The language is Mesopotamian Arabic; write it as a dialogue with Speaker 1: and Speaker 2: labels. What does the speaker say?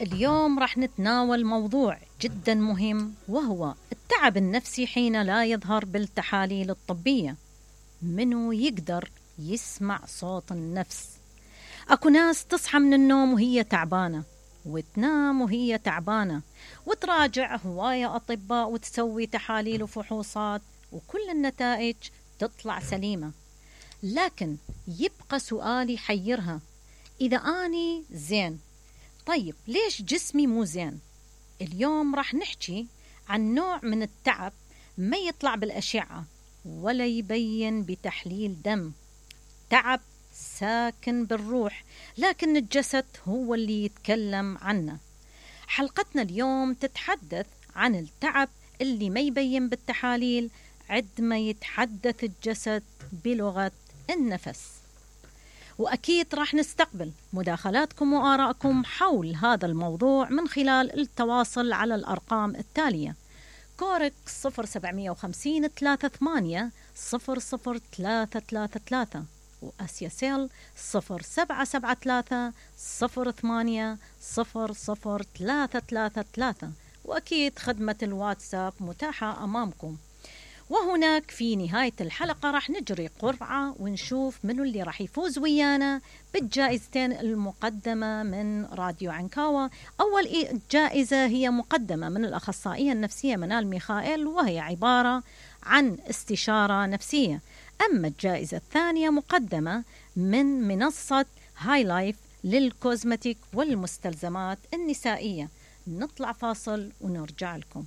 Speaker 1: اليوم راح نتناول موضوع جدا مهم، وهو التعب النفسي حين لا يظهر بالتحاليل الطبية. منو يقدر يسمع صوت النفس؟ أكو ناس تصحى من النوم وهي تعبانة، وتنام وهي تعبانة، وتراجع هواية أطباء وتسوي تحاليل وفحوصات، وكل النتائج تطلع سليمة. لكن يبقى سؤال يحيرها: إذا أني زين، طيب ليش جسمي مو زين؟ اليوم راح نحكي عن نوع من التعب ما يطلع بالأشعة ولا يبين بتحليل دم، تعب ساكن بالروح، لكن الجسد هو اللي يتكلم عنه. حلقتنا اليوم تتحدث عن التعب اللي ما يبين بالتحاليل عندما يتحدث الجسد بلغة النفس. وأكيد راح نستقبل مداخلاتكم وآراءكم حول هذا الموضوع من خلال التواصل على الأرقام التالية: كورك 0750 38 00333، وآسيا سيل 0773 08 00333، وأكيد خدمة الواتساب متاحة أمامكم. وهناك في نهاية الحلقة راح نجري قرعة ونشوف منو اللي راح يفوز ويانا بالجائزتين المقدمة من راديو عنكاوة. أول جائزة هي مقدمة من الأخصائية النفسية منال ميخائيل، وهي عبارة عن استشارة نفسية. أما الجائزة الثانية مقدمة من منصة هاي لايف للكوزمتيك والمستلزمات النسائية. نطلع فاصل ونرجع لكم.